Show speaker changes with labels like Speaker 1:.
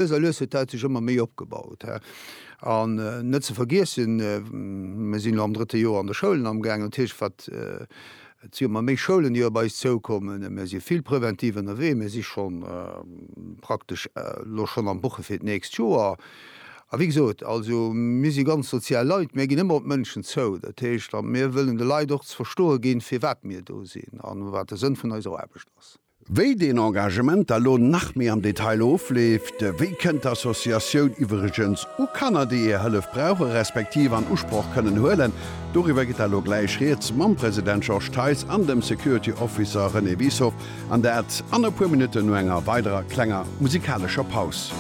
Speaker 1: Lues a lues huet dat sech ëmmer méi opgebaut. An net ze vergiessen, mir sinn elo am drëtte Joer an de Schoulen amgaangen, dat heescht, wat, et si ëmmer méi Schoulen, déi op eis zoukommen. Mir si vill präventiv ënnerwee, mir si scho praktesch elo schonn am Buche fir d'nächst Joer. A wéi gesot, also mir si ganz sozial Leit, mir ginn ëmmer op d'Mënschen zou. Dat heescht, a mir wëllen de Leit och ze verstoe ginn, firwat mir do sinn a wat de Sënn vun eiser Aarbecht ass.
Speaker 2: Wéi deen Engagement da lo nach méi am Detail ofleeft, wéi kënnt d'Associatioun iwwregens u Kanner, déi är Hëllef brauche respektiv an Usproch kënnen huelen, doriwwer geet da lo gläich rieds mam President Georges Theis an dem Security Officer René Wieshoff, an dat an e puer Minutten no enger weiderer klenger musikalescher Paus.